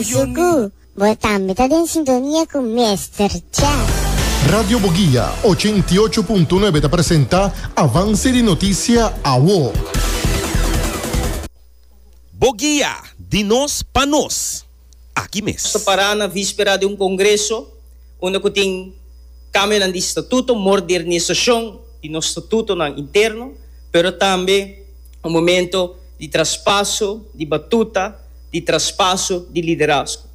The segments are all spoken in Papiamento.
Suku, bo tambe ta den sintonia ku Mister Chef. Radio Boguia 88.9 ta presenta Avance di Noticia Awo. Boguia, di nos pa nos. Aki mes. Nos ta pará na víspera di un kongreso unda ku tin kambionan di statuto, modernisashon di nos statutonan interno, pero tambe un momento di traspaso di batuta, di traspaso di liderazgo.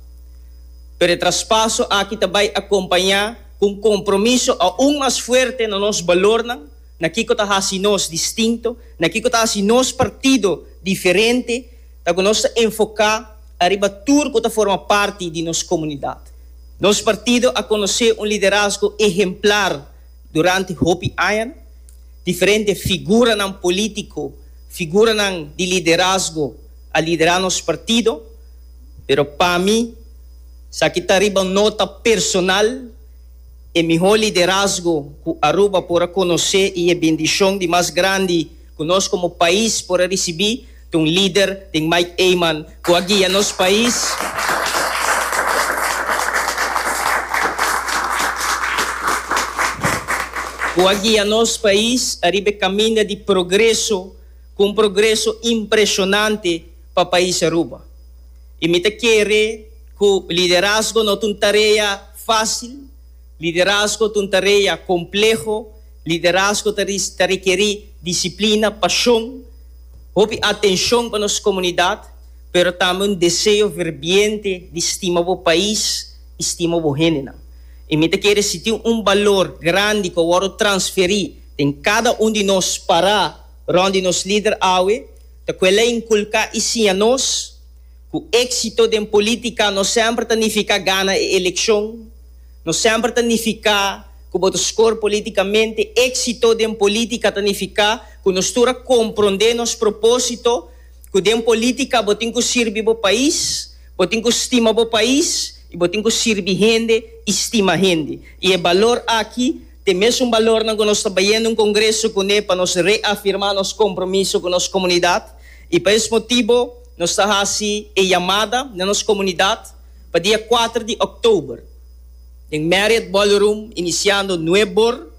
Pero e traspaso aki ta bai akompañá ku un kompromiso aun mas fuerte na nos balornan, na kiko ta hasi nos distinto, na kiko ta hasi nos partido diferente, ta ku nos ta enfoká ariba tur ku ta forma parti di nos komunidat. Nos partido a konosé un liderazgo ehemplar durante hopi añanan. Diferente figuranan polítiko, figuranan di liderazgo a liderá nos partido, pero pa mi, esaki ta riba un nota personal, e mihó liderazgo ku Aruba por a konosé i e bendishon di mas grandi ku nos komo pais por a risibí ta un lider den Mike Eman ku a guia nos pais ku a guia nos pais ariba e kaminda di progreso ku un progreso impreshonante pa pais Aruba. I mi ta kere ku liderazgo no ta un tarea fásil, liderazgo ta un tarea kompleho, liderazgo ta ta rekerí disiplina, pashon, hopi atenshon pa nos komunidat, pero tambe un deseo ferviente di stima bo pais i stima bo hendenan. I mi ta kere si tin un balor grandi ku a wòrdu transferí den kada un di nos pará rònt di nos lider awe, ta ku el a inkulká i siña nos ku éksito den polítika no semper ta nifiká gana e elekshon, no semper ta nifiká ku bo ta skor polítikamente. Éksito den polítika ta nifiká ku nos tur a komprondé nos propósito, ku den polítika bo tin ku sirbi bo pais, bo tin ku stima bo pais i bo tin ku sirbi hende i stima hende. I e balor aki T'e mesun balornan ku nos ta bayendo un kongreso kuné pa nos reafirmá nos kompromiso ku nos komunidat i pa es motibu nos ta hasi e yamada na nos komunidat pa dia kuater di òktober den Marriott Ballroom inisiando nuebor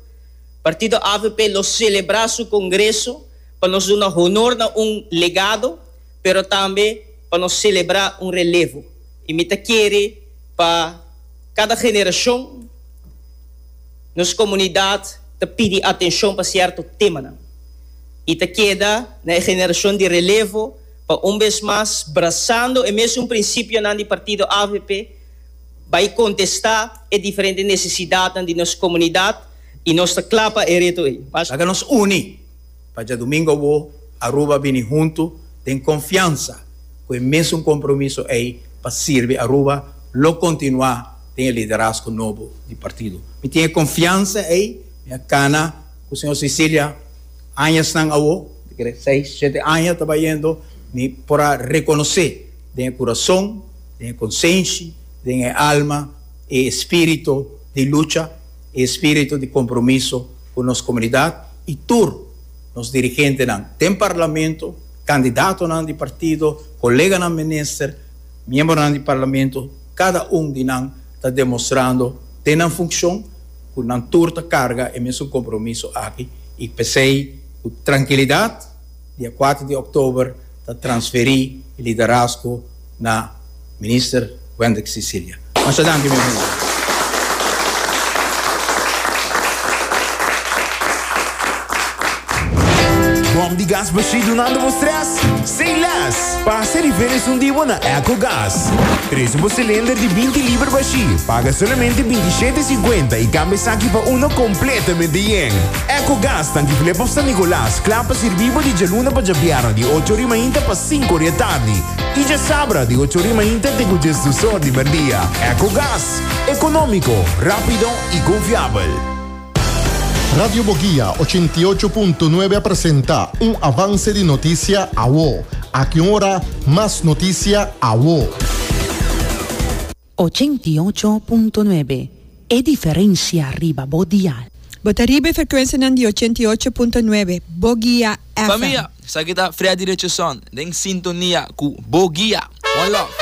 Partido avp lo selebrá su kongreso pa nos duna honor na un legado pero tambe pa nos selebrá un relevo i mi ta kere pa kada generashon Nos komunidat ta pidi atenshon pa sierto temanan i ta keda na e generashon di relevo pa un bes mas brasando e mesun prinsipionan di partido avp bai kontestá e diferente nesesidatnan di nos komunidat i nos ta kla pa e reto ei. Laga nos uni pa djadumingu awo Aruba bini huntu den konfiansa ku e mesun kompromiso ei pa sirbi Aruba lo kontinuá den e liderazgo nobo di partido. Mi tin e konfiansa ei, mi a kana ku señor Cecilia añasnan awo, mi kere seis, shete aña ta bayendo, mi por a rekonosé den e kurason, den e konsenshi, den e alma, e espírito di lucha, e espírito di kompromiso ku nos komunidat i tur nos dirigentenan den parlamento, kandidatonan di partido, koleganan minister, miembronan di parlamento, kada un di nan ta demostrando den nan funkshon ku nan tur ta karga e mesun kompromiso aki i p'esei ku trankilidat dia kuater di òktober ta transferí e liderazgo na Minister Wendrick Cicilia. Masha danki mi amigo. Bom di gas bashí dunando bo stress? Say less! Pasa riba esun di bo na Ecogas. Trese bo cilinder di binti liber bashí, paga solamente binti shete sinkuenta i kambia esaki pa uno kompletamente yen. Ecogas tanki Flip of San Nicolas, kla pa sirbi bo di djaluna pa djabièrnè di ocho ori mainta pa sinku ori atardi. I djasabra di ocho ori mainta te ku djesdus or di merdia. Ecogas, economico, rapido i confiabel. Radio Boguia 88.9 a presenta un avance di noticia awo. Aki un ora, mas noticia awo. 88.9 E diferencia riba bo dial. Bo ta riba e frekuensianan di 88.9 Boguia FM. Famia, esaki ta Freddy Richardson den sintonia ku Bo Guia. One love.